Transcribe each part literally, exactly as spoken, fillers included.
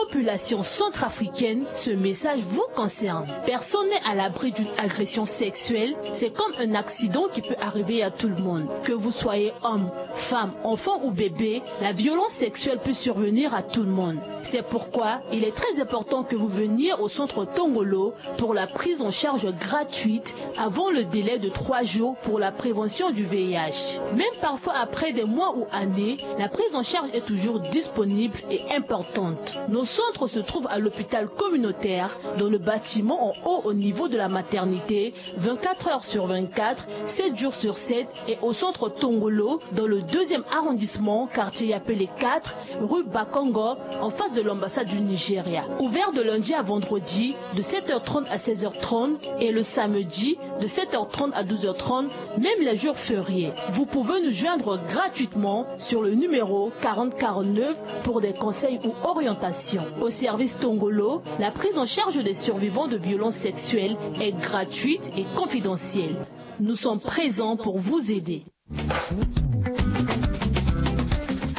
population centrafricaine, ce message vous concerne. Personne n'est à l'abri d'une agression sexuelle. C'est comme un accident qui peut arriver à tout le monde. Que vous soyez homme, femme, enfant ou bébé, la violence sexuelle peut survenir à tout le monde. C'est pourquoi il est très important que vous veniez au centre Tongolo pour la prise en charge gratuite avant le délai de trois jours pour la prévention du V I H. Même parfois après des mois ou années, la prise en charge est toujours disponible et importante. Nos centres se trouvent à l'hôpital communautaire, dans le bâtiment en haut au niveau de la maternité, vingt-quatre heures sur vingt-quatre, sept jours sur sept, et au centre Tongolo, dans le deuxième arrondissement, quartier Yapele quatre, rue Bakongo, en face de l'ambassade du Nigeria. Ouvert de lundi à vendredi, de sept heures trente à seize heures trente, et le samedi, de sept heures trente à douze heures trente, même les jours fériés. Vous pouvez nous joindre gratuitement sur le numéro quarante quarante-neuf pour des conseils ou orientations. Au service Tongolo, la prise en charge des survivants de violences sexuelles est gratuite et confidentielle. Nous sommes présents pour vous aider.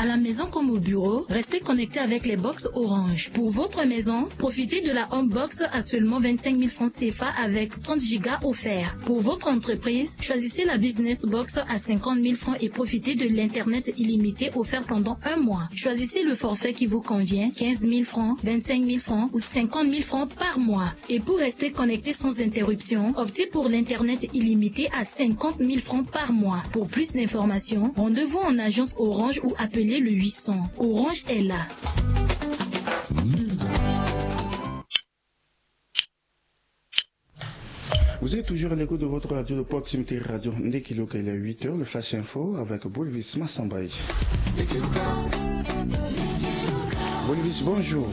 À la maison comme au bureau, restez connectés avec les box Orange. Pour votre maison, profitez de la Home Box à seulement vingt-cinq mille francs C F A avec trente gigas offerts. Pour votre entreprise, choisissez la Business Box à cinquante mille francs et profitez de l'Internet illimité offert pendant un mois. Choisissez le forfait qui vous convient, quinze mille francs, vingt-cinq mille francs ou cinquante mille francs par mois. Et pour rester connecté sans interruption, optez pour l'Internet illimité à cinquante mille francs par mois. Pour plus d'informations, rendez-vous en agence Orange ou appelez le huit cents. Orange est là. Vous êtes toujours à l'écoute de votre radio de proximité, Radio Ndekiluka. Il est huit heures, le Flash Info avec Bolvis Massambaye. Bolvis, bonjour.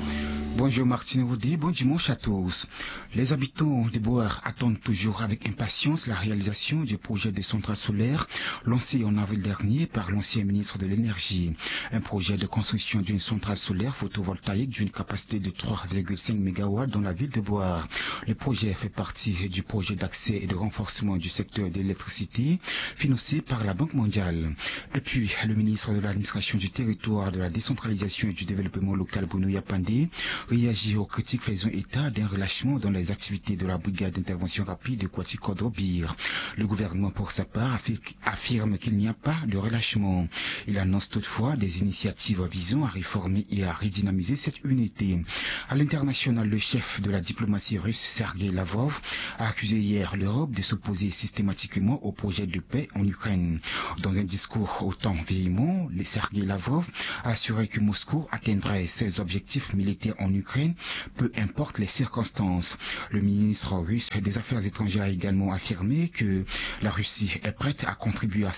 Bonjour Martine Woody, bon dimanche à tous. Les habitants de Boar attendent toujours avec impatience la réalisation du projet de centrale solaire lancé en avril dernier par l'ancien ministre de l'Énergie. Un projet de construction d'une centrale solaire photovoltaïque d'une capacité de trois virgule cinq mégawatts dans la ville de Boar. Le projet fait partie du projet d'accès et de renforcement du secteur de l'électricité financé par la Banque mondiale. Et puis, le ministre de l'Administration du Territoire, de la Décentralisation et du Développement local, Bruno Yapandé, réagit aux critiques faisant état d'un relâchement dans les activités de la brigade d'intervention rapide de Kouati Kodro Bir. Le gouvernement, pour sa part, affirme affirme qu'il n'y a pas de relâchement. Il annonce toutefois des initiatives visant à réformer et à redynamiser cette unité. À l'international, le chef de la diplomatie russe, Sergei Lavrov, a accusé hier l'Europe de s'opposer systématiquement au projet de paix en Ukraine. Dans un discours autant véhément, le Sergei Lavrov a assuré que Moscou atteindrait ses objectifs militaires en Ukraine, peu importe les circonstances. Le ministre russe des Affaires étrangères a également affirmé que la Russie est prête à contribuer à,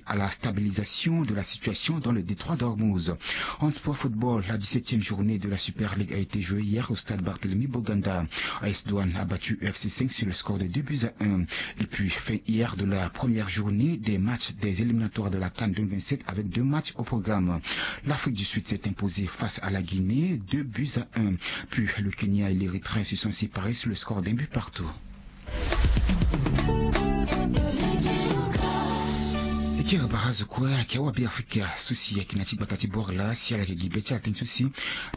à la stabilisation de la situation dans le détroit d'Ormuz. En sport football, la dix-septième journée de la Super League a été jouée hier au stade Barthélemy Boganda. A S Douanes a battu U F C cinq sur le score de deux buts à un. Et puis, fin hier de la première journée des matchs des éliminatoires de la CAN deux mille vingt-sept avec deux matchs au programme. L'Afrique du Sud s'est imposée face à la Guinée, deux buts à un. Puis, le Kenya et l'Érythrée se sont séparés sur le score d'un but partout. E kiri bara azo kue ayeke awabe Afrika so si ayeke na ya ti gbata ti bord laa si ala yeke gi be ti ala tënë so si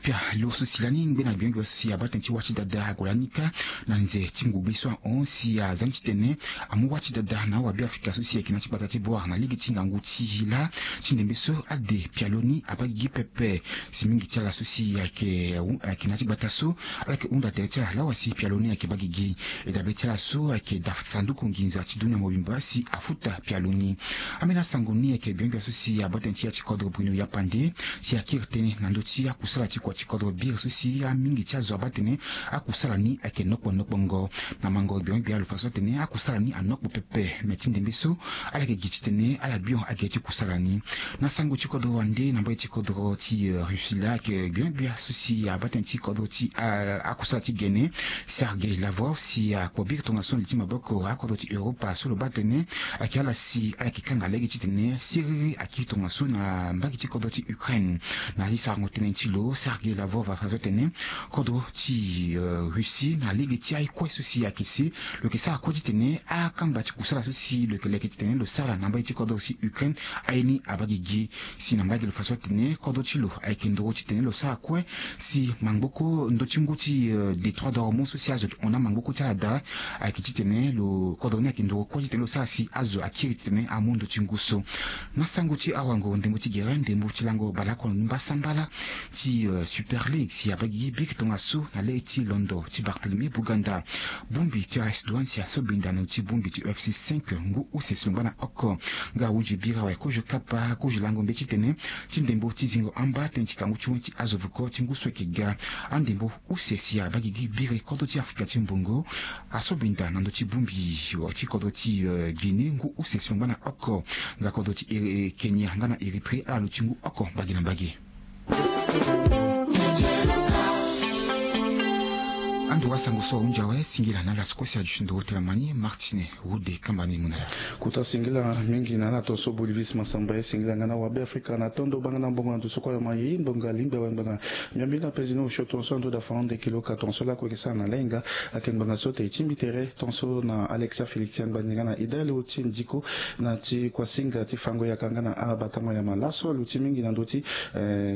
pia lo so si lani ngbe na gbengbia so si abaa tënë ti wâ ti dada ague lani kâ na nze ti ngogbe so ahon si aza ni titene amu wâ ti dada na awabe Afrika so si ayeke na ya ti gbata ti bord na lege ti ngangu ti laa ti ndembe so ade pialo ni abaa gigi pepe. Si mingi ti ala so si ayeke ayeke na ya ti gbata so ala yeke hunda tere ti ala lawa si pialo ni ayeke baa gigi. E dabe ti ala so ayeke da sanduku nginza ti dunia mobimba si afuta pialo ni. Ambeni asango ni ayeke gbengbia so si abaa tënë ti ya ti kodro Bruno Yapande si akiri tënë na ndö ti akusala ti kua ti kodro Bir so si amingi ti azo abaa tënë akusala ni ayeke nokpo nokpongo. Na mango gbengbia lo fa so atene akusala ni anokpo pepe me ti ndembe so ala yeke gi titene ala bion age ti kusala ni. Na sango ti kodro wande na mbage ti kodro ti Russie laa ayeke gbengbia so si abaa tënë ti kodro ti akusala ti gene Sergei Lavrov si akpo biri tongaso na li ti maboko akodro ti Europa so lo baa tënë ayeke ala si ala yeke kanga lege titene siriri akiri tongaso na mbage ti kodro ti Ukraine. Na ya ti sarango tënë ti lo Sergei Lavrov afa so atene kodro ti Russie na lege ti aye kue so si ayeke si lo yeke sara kue titene akamba ti kusala so si lo yeke leke titene lo sara na mbage ti kodro ti Ukraine aye ni abaa gigi. Si na mbage lo fa so atene kodro ti lo ayeke ndoro titene lo sara kue si mangboko ndö ti ngu ti détroit d'Ormuz so si azo ayeke hon na mangboko ti ala daa. Ayeke titene lo kodro ni ayeke ndoro kue titene lo sara si azo akiri titene amu ndö ti ngu so. Na sango ti awango ndembo ti gere ndembo ti lango baleoko mbasambala ti Super League si abaa gigi biri tongaso na le ti londo ti Barthélemy Boganda. Bongbi ti AS Douanes si asobenda na ndö ti bongbi ti UFC cinq ngu use si lo ngba na oko. Nga ahunzi biri awe kozo kapa kozo lango mbeti titene ti ndembo ti zingo amba tënë ti kangu ti wen ti azo vuko ti ngu so ayeke ga. Andembo use si abaa gigi biri kodro ti Afrika ti mbongo asobenda na ndö ti bongbi ti kodro ti Guinée ngu use si lo ngba na oko. Nga kodro ti Kenya nga na Érythrée ala lo ti ngu oko mbage na mbage. Ando wa sango so ahunzi awe singila na ala so kue si aduti ndoro telamani Martine Wode kamba ni mu na ya. Kota singila mingi na ala tongaso Bolivis Mansamba ye singila nga na wabe Afrika na tondo banga na mbongo na ndo so kue ayoma ye ngbonga lingbi awe ngbanga. Miambi na penzi ni osio tongaso ando da farande kilo ka tongaso lako eke sara na lainga. Ayeke ngbanga so te e tingbi tere tongaso na Alexia Félix Angbani nga na Idalo ti Ndiko na ti kuasinga ti fango yaka nga na abatango yama laso aluti mingi na ndö ti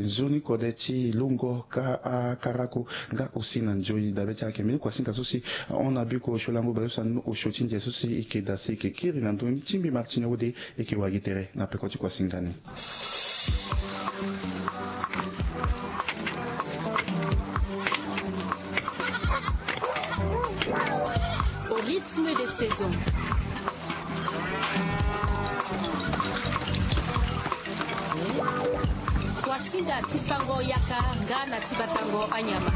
nzoni kode ti lungo ka akarako nga osi na nzoni dabe ti ayeke mbeni kuasinga so si ahon na biko osio lango baleuse anu osio ti nze so si eke da si eke kiri na ndö ni ti mbi Martine Wode eke wagi tere na peko ti kuasinga ni. Au rythme des saisons. Kuasinga ti fango yaka nga na ti batango anyama.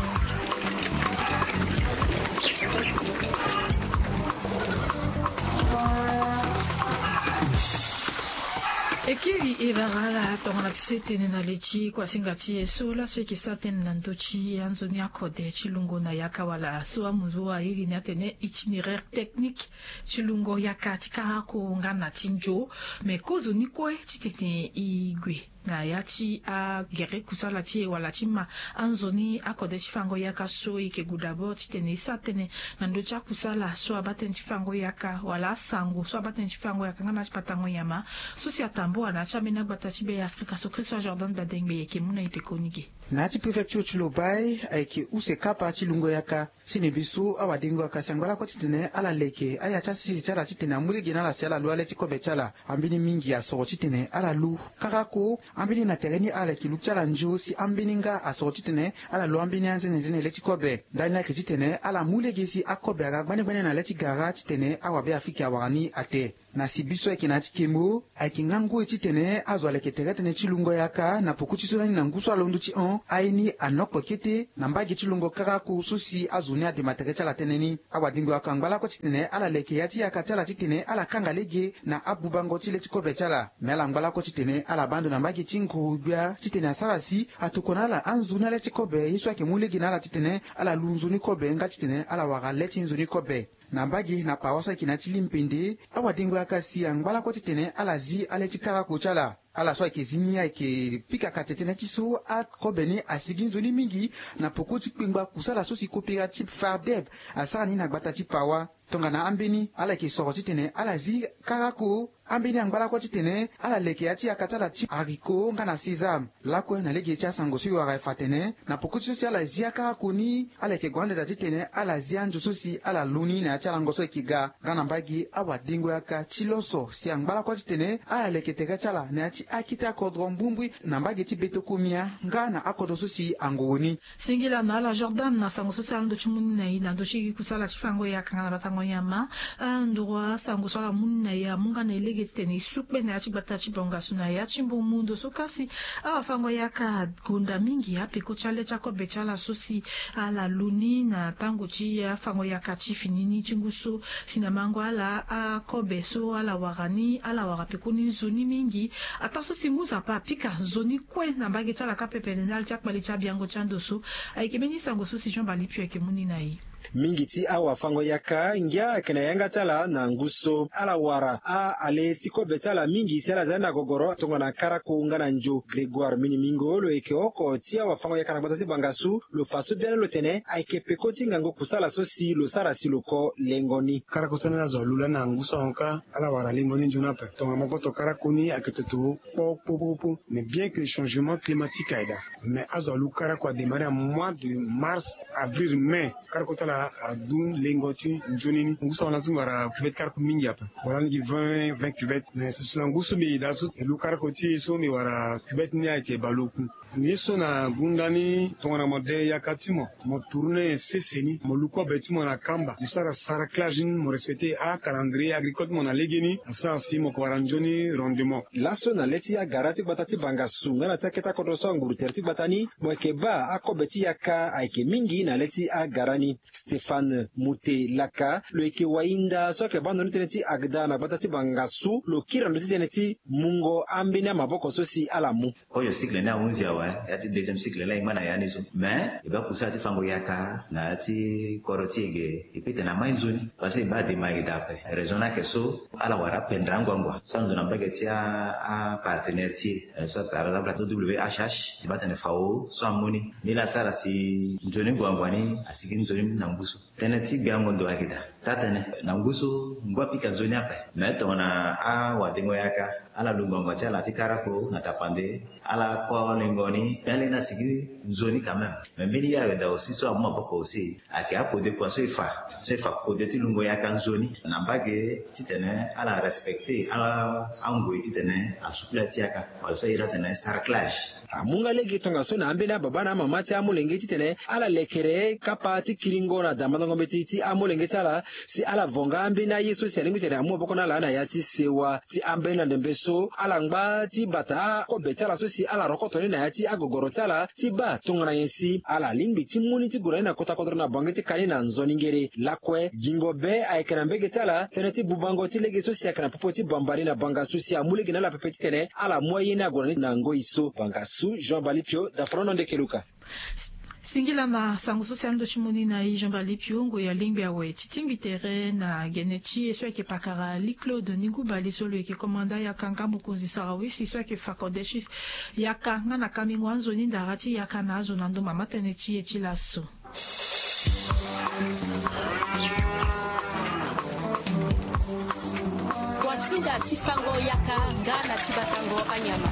E kiri e bara ala tongana ti so e tene na le ti kuasinga ti e so laso e yeke sara tënë na ndö ti anzoni akode ti lungo na yaka wala so amunzu airi ni atene itinéraire technique ti lungo yaka ti karako nga na ti nzo. Me kozo ni kue titene e gue na ya ti agere kusala ti e wala ti ma anzoni akode ti fango yaka so e yeke gue d'abord titene e sara tënë na ndö ti akusala so abaa tënë ti fango yaka wala asango so abaa tënë ti fango yaka nga na ti batango nyama so si atambula na ya ti ambeni agbata ti be ya Afrika so Christian Jordan Badengbe e yeke mu na e pekoni ge. Na ya ti préfecture ti Lobaye ayeke use kapa ti lungo yaka. Sini biso awadengo akasi angba lakue titene ala leke aya ti asisi ti ala titene amu lege na ala si ala lu ale ti kobe ti ala. Ambeni mingi asoro titene ala lu karako. Ambeni na tere ni ala yeke lu ti ala nzo si ambeni nga asoro titene ala lu ambeni anzenenzene le ti kobe. Ndani laa ayeke titene ala mu lege si akobe aga gbanengbane na le ti gara titene awabe afrika awara ni ate. Na sibi so ayeke na ya ti kemo ayeke nga ngoi titene azo aleke tere tënë ti lungo yaka na poko ti so lani na ngu so alondo ti hon aye ni anokpo kete na mbage ti lungo karako so si azo ni adema tere ti ala tënë ni. Awadengo yaka angba lakue titene ala leke ya ti yaka ti ala titene ala kanga lege na abubango ti le ti kobe ti ala. Me ala ngba lakue titene ala baa ndo na mbage ti nguru-gbia titene asara si atokua na ala anzoni ale ti kobe ye so ayeke mu lege na ala titene ala lu nzoni kobe nga titene ala wara le ti nzoni kobe. Na mbage na pawa so ayeke na ya ti limpende awadengo yaka si angba lakue titene ala zi ale ti karako ti ala. Ala so ayeke zi ni ayeke pika kate tënë ti so akobe ni asigi nzoni mingi na poko ti kpengba kusala so si coopérative Fardeb asara ni na gbata ti pawa. Tongana ambeni ala yeke soro titene ala zi karako. Ambeni angba lakue titene ala leke ya ti yaka ti ala ti haricot nga na sésame. Lakue na lege ti asango so e wara e fa atene na poko ti so si ala zi akara koni ala yeke gue ande daa titene ala zi anzo so si ala lu ni na ya ti alango so e yeke ga. Nga na mbage awadengo yaka ti loso si angba lakue titene ala leke tere ti ala na ya ti akete akodro mbumbui na mbage ti beto komia nga na akodro so si angoro ni. Singila na ala Jordan na sango so si ala ndo ti mu ni na e na ndö ti kusala ti fango yaka nga na batango nyama. Andoro asango so ala mu ni na e amu nga na e lege titene e su kpe na ya ti gbata ti bongasu na ya ti mbumu ndo so kasi awafango yaka gonda mingi apeko ti ale ti akobe ti ala so si ala lu ni na tango ti afango yaka ti fini ni ti ngu so si na mango ala akobe so ala wara ni ala wara pekoni nzoni mingi. Ataa so si ngu nzapa apika nzoni kue na mbage ti ala kâ pepe na ndali ti akpali ti abiango ti ando so. Ayeke mbeni sango so si Jean Balipio ayeke mu ni na e. Mingi ti awafango yaka Ngia ayeke na yanga ti ala na ngu so ala wara a-ale ti kobe ti ala mingi si ala za ni na gogoro tongana karako nga na njo. Grégoire Minimingo lo yeke oko ti awafango-yaka na gbata ti bangasu, lo fa so biani lo tene ayeke peko ti ngangu kusala so si lo sara si lo ko lengo ni. Karako so ni azo alu lani na ngu so ahon kâ, ala wara lengo ni nzoni ape. Tongana mo koto karako ni ayeke toto kpo kpo kpo kpo. Mais bien que changement climatique aye daa, mais azo alu karako adémarré na mois de mars, avril, mai. Karako ti ala adu lengo ti nzoni ni. Ngu so ahon lani so mbi wara cuvette karako mingi ape. Wala ni gi vingt, vingt cuvette. Mais susu na ngu so mbi ye daa so e lu karako ti e so mbi wara cuvette ni ayeke baleoku. Ye so na gunda ni tongana mo de yaka ti mo, mo tourné sese ni, mo lu kobe ti mo na kamba, mo sara sarclage ni, mo respecté acalendrier agricole ti mo na legeni, asara si mo ko wara nzoni rendement. Laso na le ti agara ti gbata ti bangasu nga na ti akete akodro so anguru tere ti gbata ni, mo yeke baa akobe ti yaka ayeke mingi na le ti agara ni. Stéphane Mute Laka lo yeke wahinda so ayeke baa ndo ni tënë ti agda na gbata ti bangasu, lo kiri na ndö ti tënë ti mungo ambeni amaboko so si ala mu. Kozo cycle ni ahunzi awe, ya ti deuxième cycle ni ayeke ma na ya ni so. Mais e baa kusala ti fango yaka na ya ti kodro ti e ge, e peut tene amai nzoni. Parce que e baa dema ayeke daa ape. Raison ni ayeke so ala wara apendre anguangua so ando na mbage ti a, apartenaire ti e, eh, so ayeke ala labla ti W H H, e baa tene fao so amu ni. Ni laa asara si nzoni nguangua ni asigi nzoni na ngu so. Tënë ti gbiango ndo ayeke daa. Taa-tënë, na ngu so ngu apika nzoni ape. Me tongana awadengo yaka, ala lu ngbangba ti ala ti karako na tapande, ala ko lengo ni, ya lani asigi nzoni quand même. Me mbeni ye awe daa aussi so amu maboko aussi, ayeke akode kua so e fa, so e fa kode ti lungo yaka nzoni na mbage titene ala respecté a, angoi titene asukula ti yaka, wala so a iri atene sarclage. Amu nga lege tongaso na ambeni ababâ na amama ti amolenge titene ala lekere kapa ti kiringo na damandongo mbeti ti amolenge ti ala, si ala vo nga ambeni aye so si alingbi titene amu maboko na ala na ya ti sewa ti ambeni na ndembe so ala ngba ti bata akobe ti ala so si ala rokoto ni na ya ti agogoro ti ala ti baa tongana nyen si ala lingbi ti mu ni ti gue na ni na kota kodro na bange ti ka ni na nzoni ngere. Lakue gingo be ayeke na mbege ti ala tënë ti bubango ti lege so si ayeke na popo ti bambari na bangasu si amu lege na ala pepe titene ala mu aye ni ague na ni na ngoi so. Bangasu, Jean Balipio, Dafrono Ndekeluka. Singila na sango so si ando ti mu ni na e Jean Balipio, ngoi alingbi awe ti tingbi tere na gene ti e so ayeke pakara Lee Claude Ningou Bale so lo yeke komanda yaka nga mokonzi sarawisi so ayeke fa kode ti yaka nga na kamingo anzoni ndara ti yaka na azo na ndo mama tënë ti e ti laso. Kuasinga ti fango yaka nga na ti batango anyama.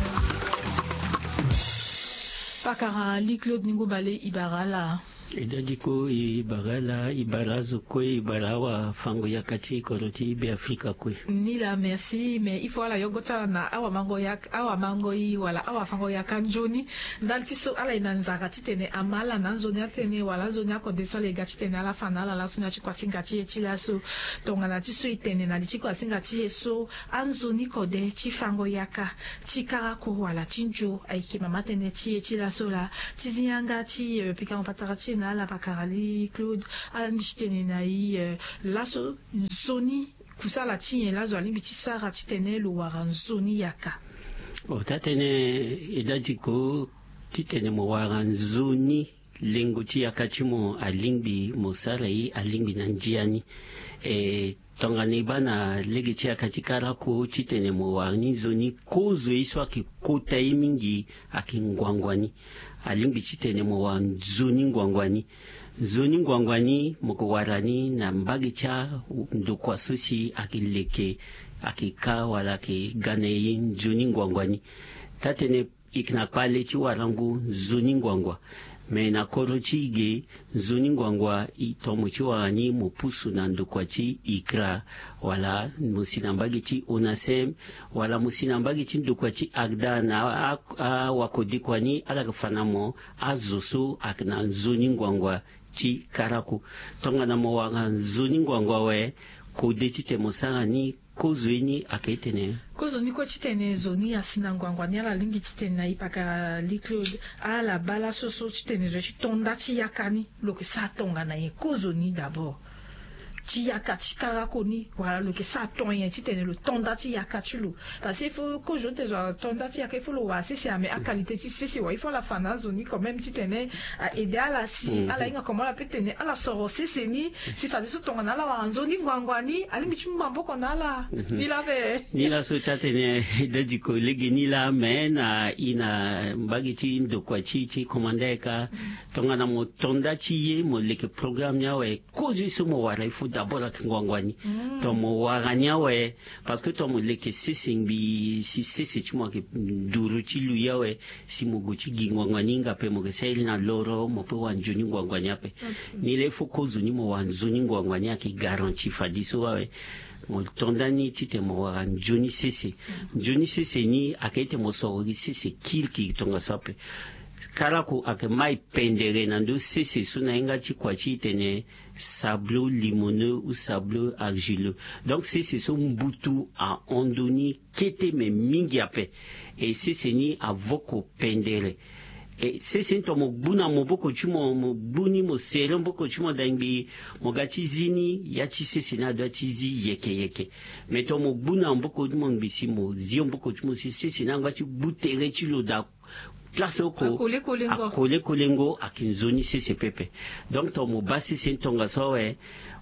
Pakara Lee Claude Ningou Bale, e bara ala. E dadi ko, e bara ala, e bara azo kue, e bara awafango yaka ti kodro ti Beafrika kue. Ni laa, merci. Mais il faut ala yogo ti ala na awamango yaka, awamango i wala awafango yaka nzoni. Ndali ti so ala ye na nzara titene ama ala na anzoni atene wala anzoni akode so ala ye ga titene ala fa na ala laso na ya ti kuasinga ti e ti laso. Tongana ti so e tene na li ti kuasinga ti e so, anzoni kode ti fango yaka, ti karako wala ti nzo ayeke mama tënë ti e ti laso laa. Ti zi yanga ti, eh, pikango patara ti e na ala pakara Lee Claude, ala lingbi ti tene na e, eh, laso nzoni kusala ti nyen lazo alingbi ti sara titene lo wara nzoni yaka? Bon, taa-tënë, e dadi ko, titene mo wara nzoni, lengo ti yaka ti mo alingbi mo sara ye alingbi na ndia ni. E, tongana e baa na lege ti yaka ti karako titene mo wara ni nzoni, kozo ye so ayeke kota ye mingi ayeke nguangua ni. Alingbi titene mo wara nzoni nguangua ni. Nzoni nguangua ni mo ko wara ni na mbage ti andokua so si ayeke leke, ayeke ka wala ayeke ga na e nzoni nguangua ni. Taa-tënë, e yeke na kpale ti warango nzoni nguangua. Me na kodro ti e ge, nzoni nguangua e tomo ti wara ni mo pusu na ndokua ti ICRA, wala mo si na mbage ti ONASEM, wala mo si na mbage ti ndokua ti ACDA na a, a, awakodekua ni ala yeke fa na mo azo so ayeke na nzoni nguangua ti karako. Tongana mo wara nzoni nguangua awe, kode titene mo sara ni, kozo ye ni ayeke tene. Kozo ni kue titene zo ni asi na nguangua ni, ala lingbi titene na e pakara Lee Claude, ala baa laso so titene zo ye ti to nda ti yaka ni, lo yeke sara tongana nyen? Kozo ni d'abord. ti yaka ti karako ni wala lo yeke sara ton nyen titene lo to nda ti yaka ti lo? Parce que il faut kozo ni tene zo ato nda ti yaka il faut lo wara sese ame, aqualité ti sese wala il faut ala fa na azo ni quand même titene a aide ala si ala hinga comment ala pe tene ala soro sese ni si fadeso tongana ala wara nzoni ngbangua ni alingbi ti mu maboko na ala. Ni laa ape. Ni laa so taa tene dadi ko lege ni laa me na i na mbage ti ndokua ti ti komanda eka. Tongana mo to nda ti ye mo leke programme ni awe, kozo ye so mo wara il faut d'abord ayeke ngbangua ni. Ton mo wara ni awe. Parce que ton mo leke sese ngbii si sese ti mo ayeke nduru ti lui awe, si mo gue ti gi ngbangua ni hinga ape mo yeke sara ye na loro mo pe wara nzoni ngbangua ni ape. Ni laa il faut kozo ni mo wara nzoni ngbangua ni ayeke garanti fadeso awe. Mo to nda ni titene mo wara nzoni sese. Nzoni sese ni ayeke ete mo soro gi sese kirikiri tongaso ape. Karako ayeke mai pendere na ndö sese so na hinga ti kua ti e tene sableau limoneux ou sableau argileux. Donc sese so mbutu ahon ndö ni kete me mingi ape. E sese ni avoko pendere. E sese ni ton mo gbu na maboko ti mo, mo gbu ni mo sere maboko ti mo da ngbii mo ga ti zi ni, ya ti sese ni adoit ti zi yeke yeke. Me ton mo gbu na maboko ti mo ngbii si mo zi maboko ti mo si sese ni angba ti gbu tere ti lo da place oko. Akole kolengo. Akole kolengo ayeke nzoni sese pepe. Donc ton mo baa sese ni tongaso awe,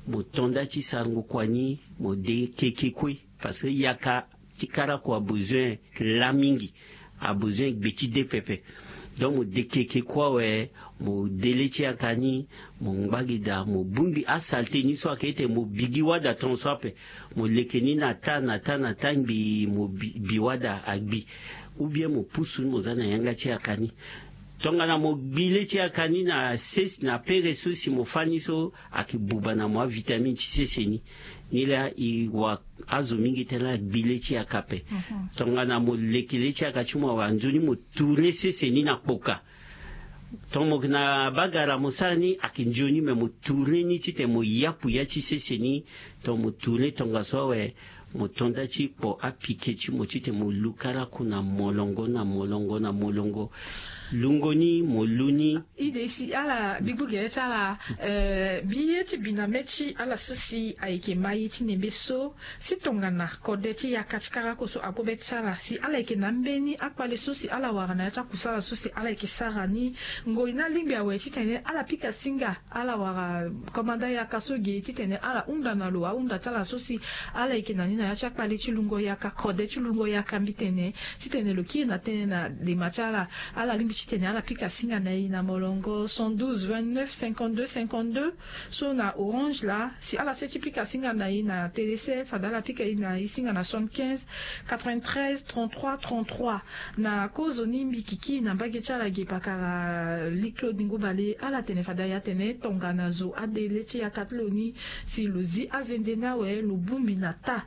mo to nda ti sarango kua ni, mo de keke kue. Parce que yaka ti karako abezoin laa mingi, abezoin gbe ti de pepe. Donc mo de keke kue awe, mo de le ti yaka ni, mo ngba gi daa, mo bongbi asalte ni so ayeke ete mo bi gi wada tongaso ape. Mo leke ni na taa na taa na taa ngbii mo bi, bi wada agbi. Ou bien mo pusu ni mo za na yanga ti yaka ni. Tongana mo gbi le ti yaka ni na sese na pere so si mo fâ ni so, ayeke buba na mo avitamine ti sese ni. Ni laa e wara azo mingi tene ala gbi le ti yaka ape. Tongana mo leke le ti yaka ti mo awe, anzoni mo tourner sese ni na kpoka. Ton mo yeke na bagara mo sara ni ayeke nzoni me mo tourner ni titene mo yapu ya ti sese ni. Ton mo tourner tongaso awe, mo to nda ti kpo apike ti mo titene mo lu karako na molongo na molongo na molongo. Lungo ni mo lu ni. Ide si ala bigbu gere ti ala. Eh, mbi ye ti bi na mê ti ala so si ayeke ma ye ti nembe so, si tongana kode ti yaka ti karako so ague be ti ala si ala yeke na ambeni akpale so si ala wara na ya ti akusala so si ala yeke sara ni. Ngoi ni alingbi awe titene ala pika singa ala wara komanda yaka so ge titene ala hunda na lo ahunda ti ala so si ala yeke na ni na ya ti akpale ti lungo yaka, kode ti lungo yaka mbi tene, titene lo kiri na tënë na dema ti ala. Ala lingbi titene ala pika singa na e na molongo cent douze vingt-neuf cinquante-deux cinquante-deux. So na Orange laa si ala so ti pika singa na e na Telecel fade ala pika e na e singa na soixante-quinze quatre-vingt-treize trente-trois trente-trois. Na kozoni mbi kiki na mbage ti ala ge pakara Li Claude Ngobale, ala tene fade aya tene tongana zo ade le ti yaka ti lo ni, si lo zi azende ni awe lo bongbi na taa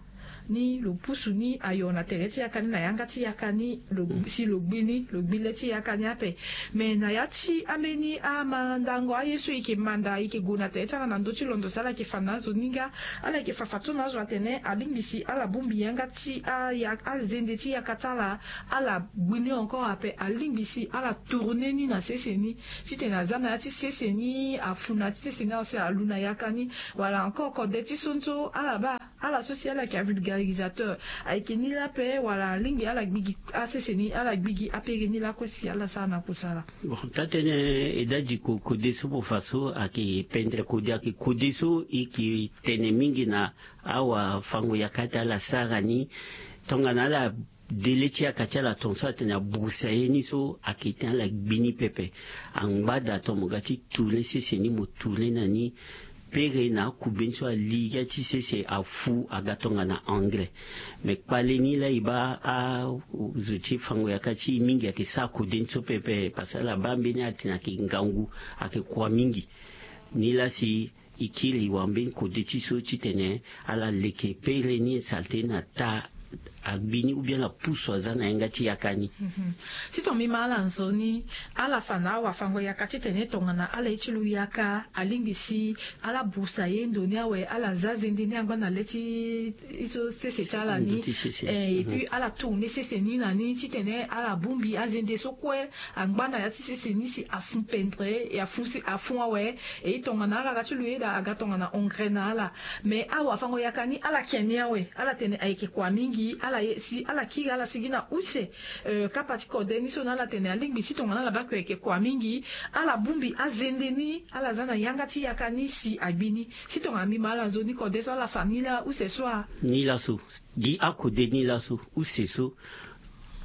ni lo pusu ni ayo na tere ti yaka ni na yanga ti yaka ni, lo si lo gbi ni lo gbi le ti yaka ni ape. Me na ya ti ambeni amandango aye so e yeke manda e yeke gue na tere ti ala na ndö ti londo si ala yeke fa na azo ni nga, ala yeke fa fadeso na azo atene alingbi si ala bongbi yanga ti aya azende ti yaka ti ala. Ala gbi ni encore ape, alingbi si ala tourner ni na sese ni titene aza na ya ti sese ni afu na ya ti sese ni awe si alu na yaka ni. Wala encore kode ti so ni so ala baa ala so si ala yeke avulgarisateur. Ayeke ni laa ape wala alingbi ala gbi gi asese ni ala gbi gi apere ni lakue si ala sara na kusala? Bon, taa-tënë e dadi ko kode so mo fa so ayeke pendere kode ayeke kode so e yeke tene mingi na awafango-yaka ti ala sara ni. Tongana ala de le ti yaka ti ala tongaso atene aburusa ye ni so ayeke tene ala gbi ni pepe. Angba daa ton mo ga ti tourner sese ni mo tourner na ni. Pere na akubeni so ali ya ti sese afu aga tongana anglais. Me kpale ni laa e baa azo ti fango-yaka ti e mingi ayeke sara kode ni so pepe parce que ala baa mbeni atene ayeke ngangu, ayeke kua mingi. Ni laa si e kiri e wara mbeni kode ti so titene ala leke pere ni salte na taa agbi ni, ou bien na pusu aza na yanga ti yaka ni. Mhm. Si tongana mbi ma ala nzoni, ala fa na awafango-yaka titene tongana ala ye ti lu yaka alingbi si ala busa ye ndo ni awe, ala za zende ni angba na le ti so sese ti ala ni. Ndo ti sese. Eh, et puis ala tourner sese ni na ni titene ala bongbi azende so kue angba na ya ti sese ni si afun pendre, e afun si, afun awe. E tongana ala ga ti lu yeda aga tongana engrais na ala. Mais awafango-yaka ni ala ke ni awe, ala tene ayeke kua mingi, ala ye si ala kiri ala sigi na use. Euh, kapa ti kode ni so na ala tene alingbi si tongana ala baa kue ayeke kua mingi, ala bongbi azende ni, ala za na yanga ti yaka ni si agbi ni. Si tongana mbi ma ala nzoni, kode so ala fa ni laa use so a? Ni laso. Gi akode ni laso, use so.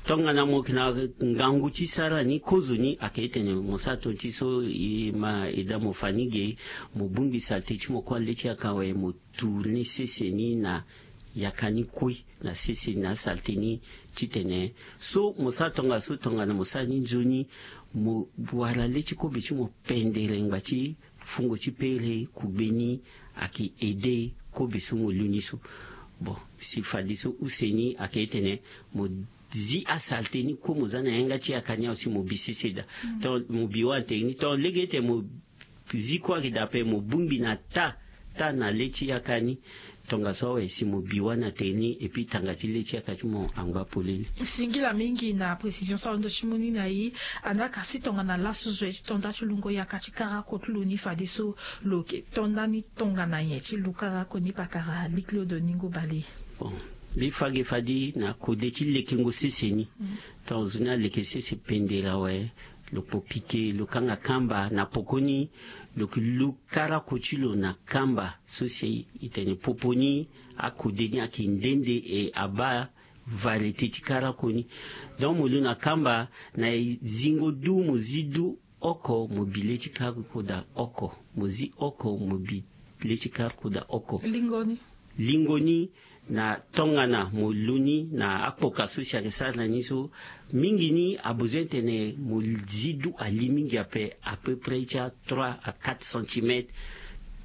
Tongana mo yeke na ngangu ti sara ni, kozo ni ayeke tene mo sara ton ti so, e ma e daa mo fa ni ge, mo bongbi saleté ti mo kue na le ti yaka awe, mo tourner sese ni na yaka ni kue, na sese ni na saleté ni titene so mo sara tongaso, tongana mo sara ni nzoni, mo wara le ti kobe ti mo pendere ngba ti fungo ti pere kugbe ni ayeke aider kobe so mo lu ni so. Bon, si fadeso use ni ayeke tene mo zi asaleté ni kue mo za na yanga ti yaka ni awe si mo bi sese daa. Mm. Tonga mo bi wâ na tere ni, tonga lege ti tene mo zi kue ayeke daa ape, mo bongbi na taa, taa na le ti yaka ni. Tongaso awe si mo bi wâ na tere ni, et puis tanga ti le ti yaka ti mo angba polele. Singila mingi na précision so alondo ti mu ni na e. Andaa ka si tongana laso zo ye ti to nda ti lungo yaka ti karako ti lo ni fadeso lo yeke to nda ni tongana nyen ti lu karako ni, pakara Louis Claude Ningo Bale? Bon, mbi fa ge fade na kode ti lekengo sese ni. Mm. Tonga zo ni aleke sese pendere awe, lo kpo pike, lo kanga kamba, na pokoni lo yeke lu karako ti lo na kamba so si e tene popo ni, akode ni ayeke nde nde, e abaa variété ti karako ni. Donc mo lu na kamba, na e zingo du, mo zi du oko, mo bi le ti karako daa oko, mo zi oko, mo bi le ti karako daa oko. Lingo ni. Lingo ni, na tongana mo lu ni na akpoka so si ayeke sara na ni so, mingi ni abezoin tene mo zi du ali mingi ape, à peu près ti a trois à quatre centimètres.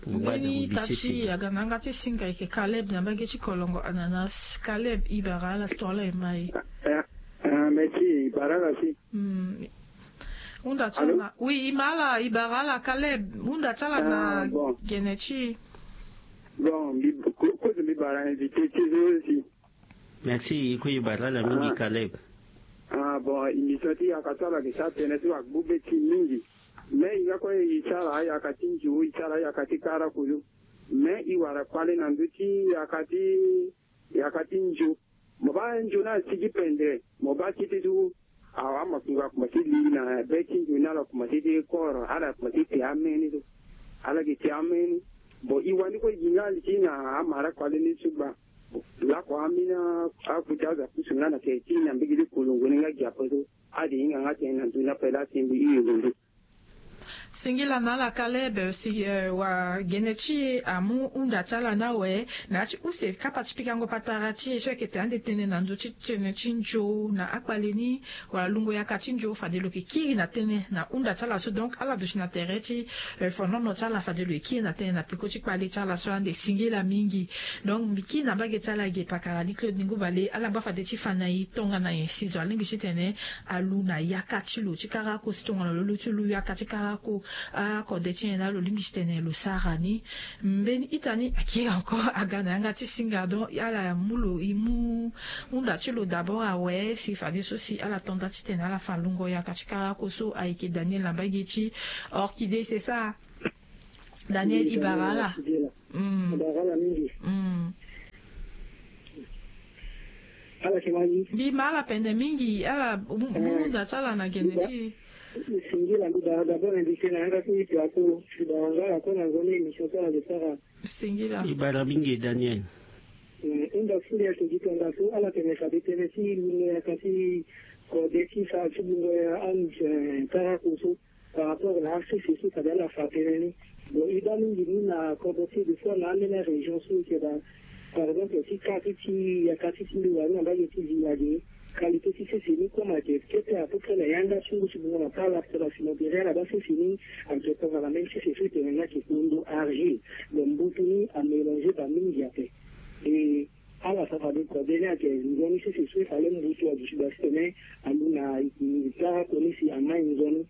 Mo baa daa mo bi sese. Mbeni ita ti aga na yanga ti singa ayeke Caleb na mbage ti Kolongo Ananas. Caleb, e bara ala si tongana ala ye ma e. Ah, ah, merci, e bara ala si. Hmm. Hunda ti ala na, oui, e ma ala, e bara ala Caleb, hunda ti ala na gene ti e. Bon, mbi, ko-, kozo mbi bara invité ti e so si. Merci, e kue e bara ala mingi Caleb. Ah, bon, émission ti yaka so ala yeke sara tënë so agbu be ti e mingi. Mais e nga kue e sara ayaka ti nzo, e sara ayaka ti kara kulu. Mais e wara kpale na ndö ti yaka ti, yaka ti nzo. Mo baa nzoni asigi pendere, mo baa ti ti so, awa, amakunga akomanse li na be ti nzoni, ala komanse ti koro, ala komanse ti te ameni so. Ala yeke te ameni. Bon, e wani kue e gi nga li ti na amara kpale ni so gba. Lakue ambeni akuta azo apusu nga na tere ti e na mbage ti Kolongo ni nga gi ape so. Ade hinga nga tënë na nzoni ape laa ti mbi hiri londo. Singila na ala Caleb, si, eh, wagene ti e amu hunda ti ala ni awe na ya ti use kapa ti pikango patara ti e so ayeke tene ande tënë na ndö ti tënë ti nzo na akpale ni, wala lungo yaka ti nzo, fade lo yeke kiri na tënë na hunda ti ala so. Donc ala duti na tere ti, eh, fonono ti ala, fade lo ye kiri na tënë na peko ti kpale ti ala so ande. Singila mingi. Donc mbi kiri na mbage ti ala ge, pakara Louis Claude Ningo Bale, ala ngba fade ti fa na e tongana nyen si zo alingbi titene alu na yaka ti lo ti karako, si tongana lo lu ti lu yaka ti karako, akode ti nyen laa lo lingbi titene lo sara ni. Mbeni ita ni akiri encore aga na yanga ti singa. Donc ala mu lo, e mu hunda ti lo d'abord awe, si fadeso si ala to nda titene ala fa lungo yaka ti karako so. Ayeke Daniel na mbage ti Orchidée, c'est ça? Daniel, e bara ala. Mm. E bara ala mingi. Mm. Ala yeke ma e? Mbi ma ala pende mingi, ala mu, mu hunda ti ala na gene ti e. Singila, mbi bara d'abord invité na yanga ti e, mbi bara nga ala kue na nzoni émission ti ala lo sara. Singila. E bara mingi Daniel. Mm, hunda ti e ayeke gi tongaso, ala tene fade tënë ti lungo yaka ti kode ti fa ti lungo ya ande, eh, karako so. Par rapport na asese so fade ala fa tënë ni. Bon, e baa mingi ni na kodro ti e, des fois na ambeni arégion so e yeke daa, par exemple ti kâ ti ti yaka ti ti mbi wani na mbage ti Village, qualité ti sese ni comme ayeke kete à peu près na yanga ti ngu ti bungo na pala, parce que na cimetière ala baa sese ni ayeke tongana même sese so e tene ni ayeke kpondo, argile. Bon, mbutu ni amélange baa mingi ape. Et Ala sara fade kode ni ayeke nzoni sese so e fa le mbutu aduti da titene alu na kara koni si amai nzoni.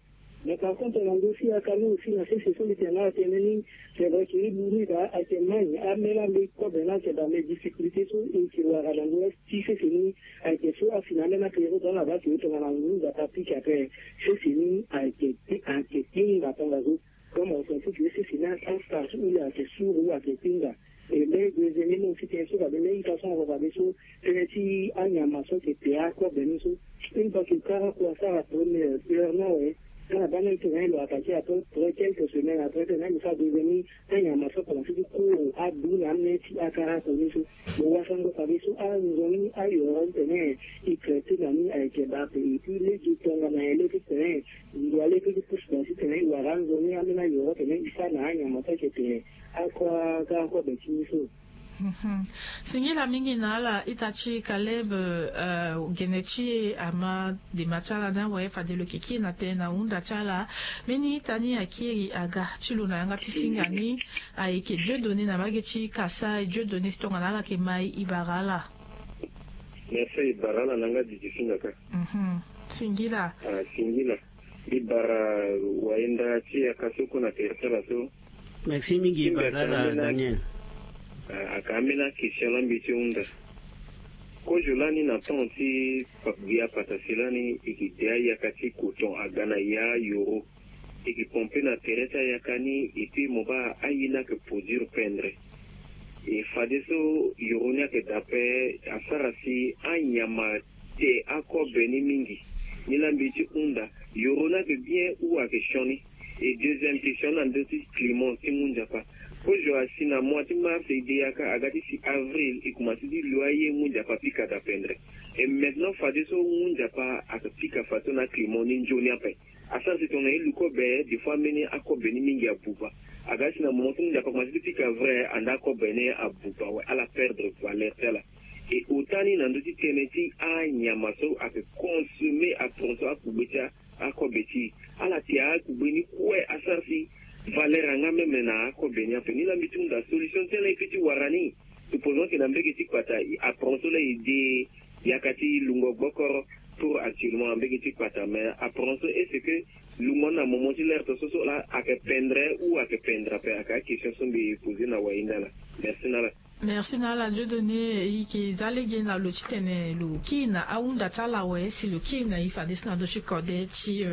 Mais par contre na ndö ti yaka ni aussi na sese so mbi tene na ala tënë ni, c'est vrai que e lu ni daa ayeke mai ambeni ambeni kobe ni ayeke daa, mais difficulté so e yeke wara na ndö ti sese ni ayeke so asi na ambeni apériode ni aba ayeke ye tongana ngu nzapa apika ape. Sese ni ayeke ayeke tinga tongaso. Comme on sait que sese ni astar so ule ayeke suru ayeke tinga. E mbe deuxième ni mo ti tene so fade lege ita so na fade so tënë ti anyama so ayeke te akobe ni so. Une fois que kara kua asara première heure ni awe, ala baa même tene lo attaqué après quelques semaines après tene lo sara deuxième ni. Anyama so akomanse ti kuru adu na amê ti akara kua ni so. Mo wasango fade so anzoni ayoro tene e traité na ni ayeke baa ape. Et puis lege tongana e lege titene ndo alege ti pusu na titene e wara anzoni ambeni ayoro tene e sara na anyama so ayeke te. Akua kara kua be ti ni so. Singila mingi na ala ita ti Caleb. Gene ti e ama dema ti ala ni awe fade lo yeke kiri na tënë na hunda ti ala. Mbeni ita ni akiri aga ti lo na yanga ti singa ni. Ayeke Dieudonné na mbage ti Kasaï. Dieudonné, si tongana ala yeke mai, e bara ala. Merci, e bara ala na yanga didi singa kâ. Singila. Singila. E bara wayenda ti yaka so kue na tere ti ala so. Merci mingi, e bara ala Daniel. Aka ambeni akestion la mbi ti hunda. Kozo lani na temps ti gbia patasi lani e ke de ayaka ti coton aga na ya yoro. E ke pompe na tere ti ayaka ni et puis mo baa aye ni ayeke produire pendre. E fadeso yoro ni ayeke daa ape asara si anyama te akobe ni mingi. Ni la mbi ti hunda, yoro ni ayeke bien ou ayeke sioni? E deuxième question na ndö ti climat ti ngu nzapa. Kozo asi na mois ti mars e de yaka aga ti si avril e komanse ti lo aye ngu nzapa apika daa pendre. E maintenant fadeso ngu nzapa ayeke pika fadeso na climat ni nzoni ape. Asara si tongana e lu kobe des fois ambeni akobe ni mingi abuba. Aga si na moment so ngu nzapa akomanse ti pika vrai anda akobe ni abuba awe ala perdre valeur ti ala. E ota ni na ndö ti tënë ti anyama so ayeke consommer apren so akugbe ti akobe ti e. Ala te akugbe ni kue asara si valeur yanga même na akobe ni ape. Ni la mbi ti hunda solution ti ala e pe ti wara ni. Supposons que na mbege ti kpata apren so la e de yaka ti lungo gbokoro. Pour actuellement na mbege ti kpata mais apren so est ce que lungo ni na moment ti l'heure to so so la ayeke pendre ou ayeke pendre ape? Ayeke akestion so mbi pose na wayenda la. Merci na ala. Merci na ala Dieudonné. E yeke za lege na lo titene lo kiri na ahunda ti ala awe si lo kiri na e fadeso na ndö ti kode ti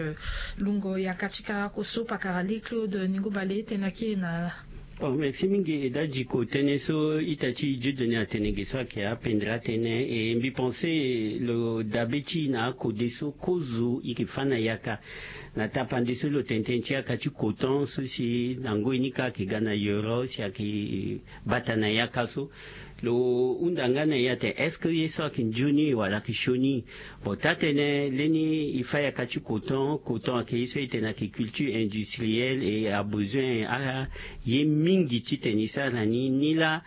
lungo yaka ti karako so pakara li Claude Ningo Bale tene akiri na ala. Bon, merci mingi. E da diko tënë so ita ti Dieudonné atene ge so ayeke apendre atene e mbi pense lo dabe ti e na akode so kozo e yeke fâ na yaka. Na tapande so lo tene tënë ti yaka ti coton so si na ngoi ni kâ ayeke ga na yoro si ayeke bata na yaka so. Lo hunda nga na e ate est-ce que ye so ayeke nzoni wala ayeke sioni? Bon, taa-tënë leni e fâ yaka ti coton. Coton ayeke ye so e tene ayeke culture industrielle et a besoin aye mingi titene e sara na ni. Ni la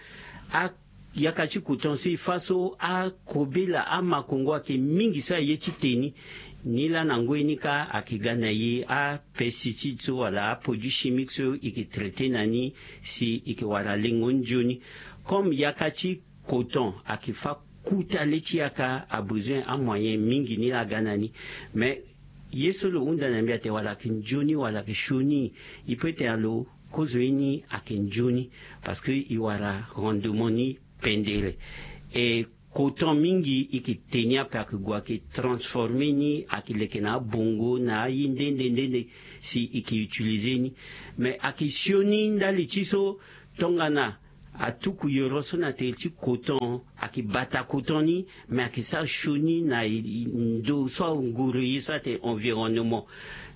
a yaka ti coton so e fâ so akobela amakongo ayeke mingi so aye ti te ni. Ni la na ngoi ni kâ ayeke ga na e apesticide so wala aproduit chimique so e yeke traité na ni si e yeke wara lengo nzoni. Comme yaka ti coton ayeke fâ kuta le ti yaka a besoin amoyen mingi ni la aga na ni. Mais ye so lo hunda na mbi ate wala ayeke nzoni wala ayeke sioni? E pe tene na lo kozo ye ni ayeke nzoni. Parce que e wara rendement ni pendere. E coton mingi e yeke te ni ape ayeke gue ayeke transformer ni ayeke leke na abongo na aye nde nde nde nde si e yeke utiliser ni. Mais ayeke sioni ndali ti so tongana atuku yoro so na tere ti coton ayeke bata coton ni. Mais ayeke sara sioni na ndo so anguru ye so ate environnement.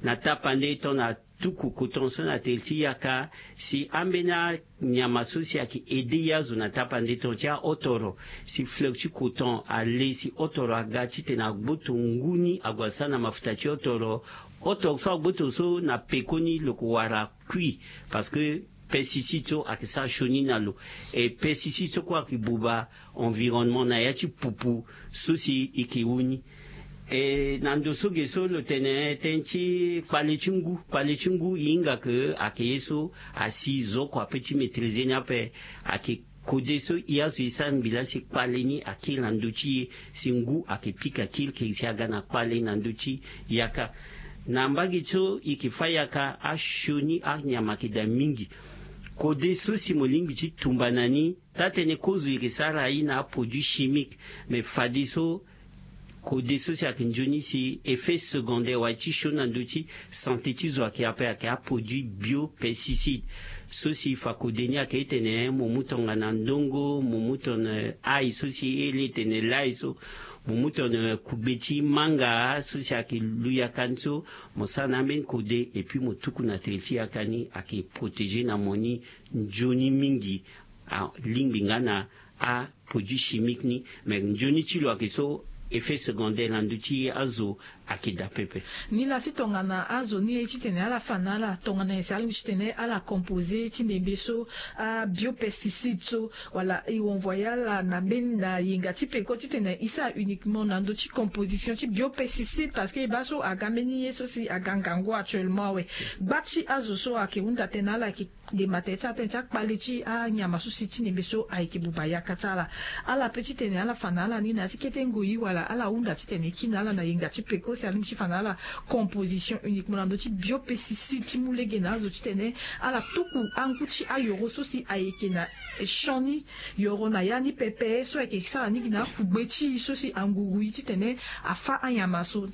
Na tapande tongana tuku coton so na tere ti yaka si ambeni anyama so si ayeke aider ye azo na tapande tongana ti ahotoro. Si fleur ti coton ale si hotoro aga titene agboto ngu ni ague asara na mafuta ti hotoro. Hotoro so agboto so na pekoni lo ko wara kui. Parce que pesticide so ayeke sara sioni na lo. E pesticide so kue ayeke buba environnement na ya ti pupu so si e yeke wu ni. E na ndo so ge so lo tene tënë ti kpale ti ngu. Kpale ti ngu e hinga ke ayeke ye so asi zo kua pe ti maîtriser ni ape. Ayeke kode so e azo e sara mbi laa si kpale ni akiri na ndö ti e, si ngu ayeke pika kiri ke si aga na kpale na ndö ti yaka. Na mbage so e yeke fâ yaka, asioni anyama ayeke daa mingi. Kode so si mo lingbi ti tumba na ni, taa-tënë kozo e yeke sara aye na aproduit chimique, me fadeso kode so si ayeke nzoni si effet secondaire wala ti sioni na ndö ti sante ti zo ayeke ape, ayeke aproduit biopesticide. So si fa kode ni ayeke e tene mo mu tongana ndongo, mo mu tongana ail so si e iri e tene lail so, mo mu tongana kugbe ti manga so si ayeke lu yaka ni so, mo sara na ambeni kode et puis mo tuku na tere ti yaka ni, ayeke protéger na mo ni nzoni mingi. Alingbi nga na aproduit chimique ni, me nzoni ti lo ayeke so, effet secondaire na ndö ti azo ayeke daa pepe. Ni laa si tongana azo ni aye titene ala fa na ala tongana nyen si alingbi titene ala composer ti ndembe so abiopesticide so, wala e envoyer ala na mbeni na yenga ti peko titene e sara uniquement na ndö ti composition ti biopesticide, parce que e baa so aga mbeni ye so si aga ngangu actuellement awe. Gba ti azo so ayeke hunda tënë na ala ayeke ndemba tënë ti atënë ti akpale ti anyama so si ti ndembe so ayeke buba yaka ti ala. Ala pe titene ala fa na ala ni na ya ti kete ngoi wala ala hunda titene e kiri na ala na yenga ti peko si alingbi ti fa na ala composition uniquement na ndö ti biopesticide ti mu lege na azo titene ala tuku angu ti ayoro so si ayeke na champ ni, yoro na ya ni pepe so ayeke sara ni gi na akugbe ti e so si anguru e titene afâ anyama so.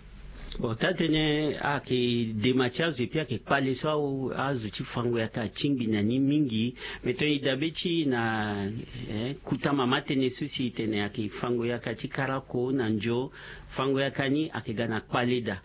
Bon, taa-tënë ayeke dema ti azo epui ayeke kpale so azo ti fango yaka atingbi na ni mingi. Me tongana e dabe ti e na, eh, kota mama tënë so si e tene ayeke fango yaka ti karako na ndio, fango yaka ni ayeke ga na kpale daa.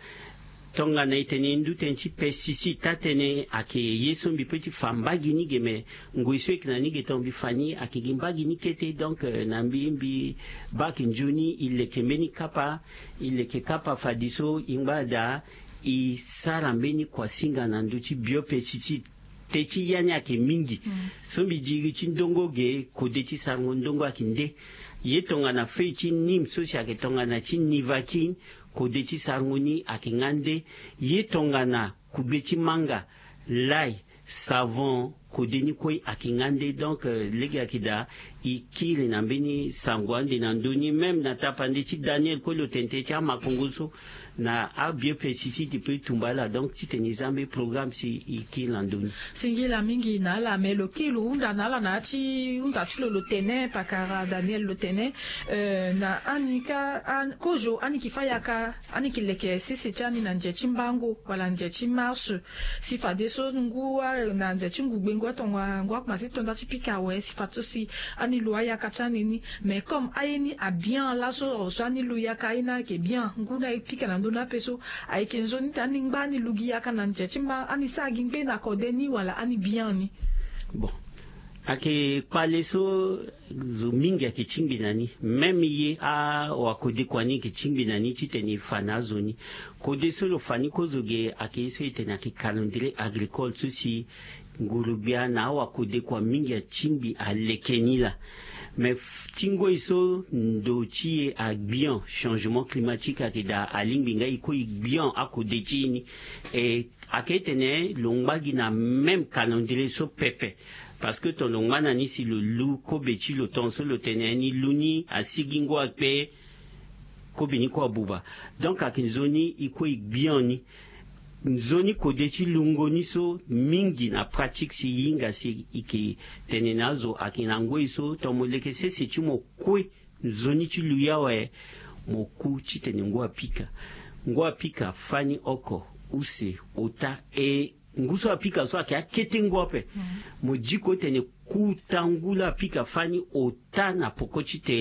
Tongana e tene e ndu tënë ti pesticide, taa-tënë ayeke ye so mbi pe ti fa mbage ni ge, me ngoi so e yeke na ni ge tongana mbi fa ni ayeke gi mbage ni kete. Donc, eh, na mbi, mbi baa ayeke nzoni e leke mbeni kapa, e leke kapa fadeso e ngba daa e sara mbeni kuasinga na ndö ti biopesticide. Te ti ya ni ayeke mingi. So mbi diri ti ndongo ge, kode ti sarango ndongo ayeke nde. Ye tongana feuille ti nîmes so si ayeke tongana ti nivaquine, kode ti sarango ni ayeke nga nde. Ye tongana kugbe ti manga, l'ail, savon, kode ni kue ayeke nga nde. Donc, euh, lege ayeke daa e kiri na mbeni sango ande na ndö ni. Même na tapande ti Daniel kue lo tene tënë ti amakongo so na abiopesticide e pe e tumba ala. Donc titene e za mbeni programme si e kiri na ndö ni. Singila mingi na ala, me lo kiri lo hunda na ala na ya ti hunda ti lo lo tene, pakara Daniel lo tene, euh, na ani ka, an-, kozo ani yeke fâ yaka, ani yeke leke sese ti ani na nze ti mbango wala nze ti mars. Si fadeso ngu a, na nze ti ngugbe ngu atonga, ngu akomanse ti to nda ti pika awe, si fadeso si ani lu ayaka ti ani ni. Mais comme aye ni abien laso, so ani lu yaka aye ni ayeke bien, ngu ni aye pika na ndö ni ape so, ayeke nzoni ti ani ngba ani lu gi yaka na nze ti mba, ani sara gi ngbe na kode ni wala ani bien ni. Bon, ayeke kpale so zo mingi ayeke tingbi na ni. Même ye awakode kua ni yeke tingbi na ni titene e fa na azo ni. Kode so lo fa ni kozo ge ayeke ye so e tene ayeke calendrier agricole so si nguru-gbia na awakode kua mingi atingbi aleke ni laa. Me f-, ti ngoi so ndo ti e agbian, changement climatique ayeke daa, alingbi nga e kue e gbian akode ti e ni. E ayeke tene lo ngba gi na même calendrier so pepe. Parce que ton lo ngba na ni si lo lu kobe ti lo, ton so lo tene ni lu ni asigi ngu akpe, kobe ni kue abuba. Donc ayeke nzoni e kue e gbian ni. Nzoni kode ti lungo ni so mingi na pratique si e hinga si e yeke tene na azo ayeke na ngoi so ton mo leke sese ti mo kue nzoni ti lu ye awe, mo ku titene ngu apika. Ngu apika fani oko, use, ota, e ngu so apika so ayeke akete ngu ape. Mo diko tene kota ngu laa apika fani ota na poko ti te.